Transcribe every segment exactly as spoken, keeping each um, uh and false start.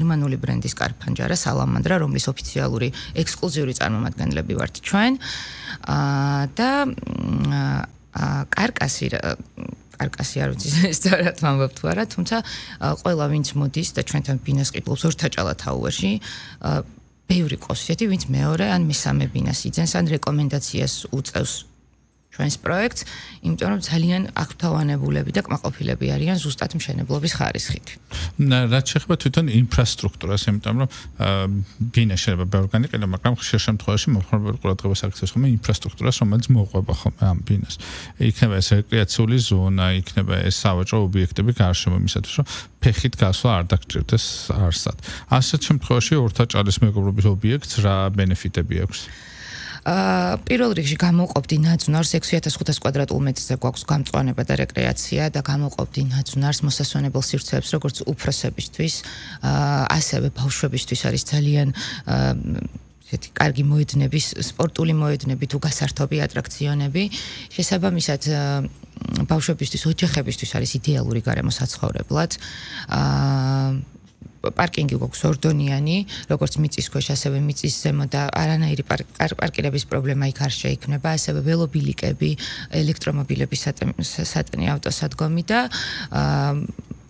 გერმანული ბრენდის კარფანჯარა სალამანდრა, რომლის ოფიციალური ექსკლუზიური წარმომადგენლები ვართ ჩვენ. და კარკასი კარკასი არ ვიცი სწორად ვამბობ თუ არა, თუმცა ყველა ვინც მოდის და ჩვენთან ბინას ყიდულობს ორთაჭალა თაუერში, ბევრი ყავს ისეთი, ვინც მეორე ან მესამე ბინას იძენს ან რეკომენდაციას უწევს ჩვენს პროექტს, იმიტომ რომ ძალიან აღფრთოვანებულები და კმაყოფილები არიან ზუსტად მშენებლობის ხარისხით. რაც შეეხება თვითონ ინფრასტრუქტურას, იმიტომ რომ ბინა შეიძლება ბევრგანი ყიდო, მაგრამ ხშირ შემთხვევაში მომხმარებელი ყურადღებას აქცევს ხოლმე ინფრასტრუქტურას, რომელიც მოყვება ხოლმე ამ ბინას. იქნება ეს რეკრეაციული ზონა, იქნება ეს სავაჭრო ობიექტები გარშემო იმისათვის, რომ ფეხით გასვლა არ დაგჭირდეს არსად. ასეთ შემთხვევაში ორთაჭალის მეგობრობის ობიექტს რა ბენეფიტები აქვს? პირველ რიგში გამოვყოფდი ნაძვნარს ექვსი ათას ხუთას კვადრატულ მეტრზე გვაქვს გამწვანება და რეკრეაცია და გამოვყოფდი ნაძვნარს მოსასვენებელ სივრცეებს როგორც უფროსებისთვის, ასევე ბავშვებისთვის არის ძალიან ესეთი კარგი მოედნების, სპორტული მოედნები თუ გასართობი ატრაქციონები. შესაბამისად ბავშვებისთვის, ოჯახებისთვის არის იდეალური გარემოსაცხოვრებლად. პარკინგი გვაქვს ორდონიანი, როგორც მიწის ქვეშ, ასევე მიწის ზემო და არანაირი პარკირების პრობლემა იქ არ შეიქმნება, ასევე ველობილიკები, ელექტრომობილების სატენი ავტოსადგომი და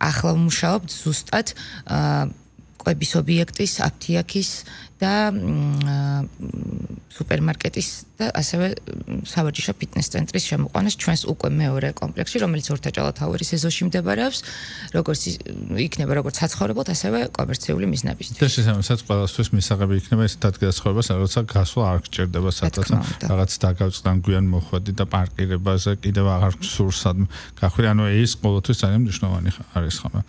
ახლა ვმუშაობთ ზუსტად კვების ობიექტის, აფთიაქის და სუპერმარკეტის და ასევე სავარჯიშო ფიტნეს ცენტრის შემოყვანას ჩვენს უკვე მეორე კომპლექსში, რომელიც ორთაჭალა თაუერის ეზოში მდებარეობს, როგორც იქნება როგორც საცხოვრებლად, ასევე კომერციული მიზნებისთვის. და შესაბამისად ყველასთვის მისაღები იქნება ეს დადგასხმებას, როცა გასვლა არ გჭირდება სადღაც, რაღაც დაგავწყდან გვიან მოხვედი და პარკირებაზე კიდევ აღარ გსურს სადმე გახვირი, ანუ ეს ყოველთვის ძალიან მნიშვნელოვანი არის ხოლმე.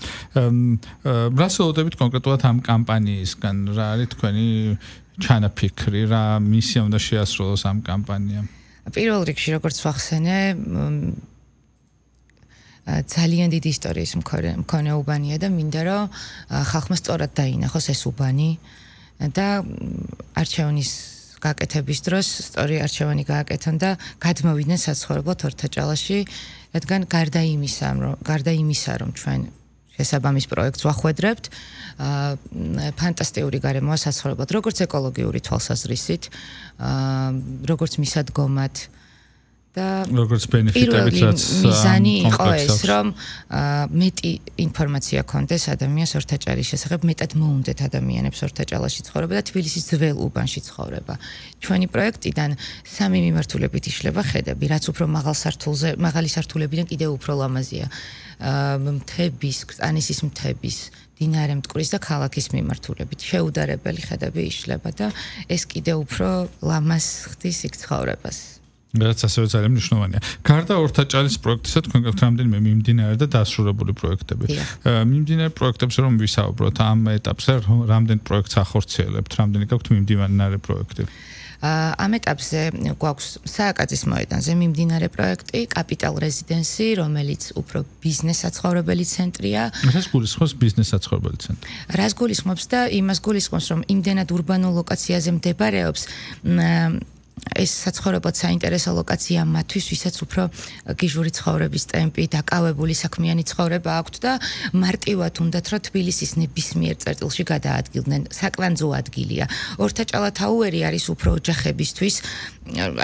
რას ველოდებით კონკრეტულად ამ კამპანიისგან, რა არის თქვენი ჩანაფიქრი, რა მისია უნდა შეასრულოს ამ კამპანიამ? პირველ რიგში, როგორც ვახსენე, ძალიან დიდი ისტორიის მქონე უბანია და მინდა რომ ხალხმა სწორად დაინახოს ეს უბანი და არჩევნის გაკეთების დროს სწორი არჩევანი გააკეთონ და გადმოვიდნენ საცხოვრებლად ორთაჭალაში, რადგან გარდა იმისა, რომ გარდა იმისა, რომ ჩვენ შესაბამის პროექტს ვახვედრებთ, ფანტასტიკური გარემოა საცხოვრებლად, როგორც ეკოლოგიური თვალსაზრისით, როგორც მისადგომად და როგორც ბენეფიტებით, რაც მიზანი იყო ეს, რომ მეტი ინფორმაცია ქონდეს ადამიანს ორთაჭალის შესახებ, მეტად მოუნდეთ ადამიანებს ორთაჭალაში ცხოვრება და თბილისის ძველ უბანში ცხოვრება. ჩვენი პროექტიდან სამი მიმართულებით იშლება ხედები, რაც უფრო მაღალ სართულზე, მაღალი სართულებიდან კიდევ უფრო ლამაზია. მთების, კრწანისის მთების, დინარე მტკვრის და ქალაქის მიმართულებით შეუდარებელი ხედები იშლება და ეს კიდევ უფრო ლამაზ ხდის იქ ცხოვრებას. რაც ასევე ძალიან მნიშვნელოვანია. გარდა ორთაჭალის პროექტისა, თქვენ გაქვთ რამდენიმე მიმდინარე და დასრულებული პროექტები. მიმდინარე პროექტებზე რომ ვისაუბროთ, ამ ეტაპზე რამდენ პროექტს ახორციელებთ, რამდენი გაქვთ მიმდინარე პროექტები? ამ ეტაპზე გვაქვს სააკაძის მოედანზე მიმდინარე პროექტი, კაპიტალ რეზიდენსი, რომელიც უფრო ბიზნეს საცხოვრებელი ცენტრია. რას გულისხმობს ბიზნეს საცხოვრებელი ცენტრი? რას გულისხმობს და იმას გულისხმობს, რომ იმდენად ურბანულ ლოკაციაზე მდებარეობს, ეს საცხოვრებლად საინტერესო ლოკაცია მათთვის, ვისაც უფრო გიჟური ცხოვრების ტემპი, დაკავებული საქმიანი ცხოვრება აქვთ და მარტივად უნდათ, რომ თბილისის ნებისმიერ წერტილში გადაადგილდნენ. საკვანძო ადგილია. ორთაჭალა თაუერი არის უფრო ოჯახებისთვის,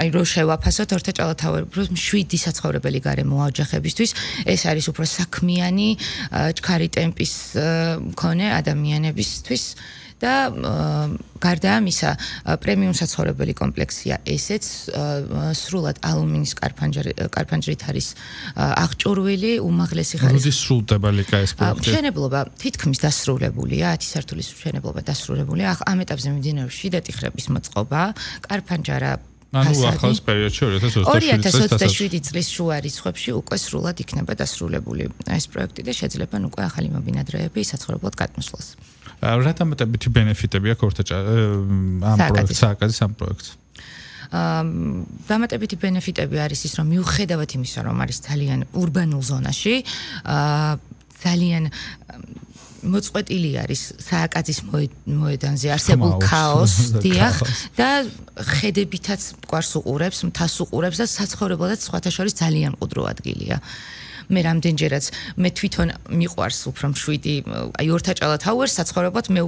აი რო შევაფასოთ ორთაჭალა თაუერი, შვიდი საცხოვრებელი გარემოა ოჯახებისთვის. ეს არის უფრო საქმიანი, ჩქარი ტემპის მქონე ადამიანებისთვის. და გარდა ამისა, პრემიუმ საცხოვრებელი კომპლექსია ესეც, სრულად ალუმინის კარფანჯრით არის აღჭურვილი, უმაღლესი ხარისხის. როდის სრულდება ლიკა ეს პროექტი? მშენებლობა თითქმის დასრულებულია, ათი სართულის მშენებლობა დასრულებულია. ამ ეტაპზე მიმდინარეობს შიდა ტიხრების მოწყობა, კარფანჯარა ანუ ახალ პერიოდში ორი ათას ოცდაშვიდი წლის შუა რიცხვებში უკვე სრულად იქნება დასრულებული ეს პროექტი და შეძლებენ უკვე ახალი მობინადრეები საცხოვრებლად გადმოსვლას. რა დამატებითი ბენეფიტები აქვს ორთაჭალის ამ პროექტს, სააკაძის ამ პროექტს? დამატებითი ბენეფიტები არის ის, რომ მიუხედავად იმისა, რომ არის ძალიან ურბანულ ზონაში, ძალიან მოწყვეტილი არის სააკაძის მოედანზე არსებულ ქაოსს, დიახ, და ხედებითაც მყარს უყურებს, მთას უყურებს და საცხოვრებლადაც სხვათა შორის ძალიან მყუდრო ადგილია. მე რამდენჯერაც მე თვითონ მიყვარს უფრო მშვიდი, აი ორთაჭალა თაუერს საცხოვრებლად მე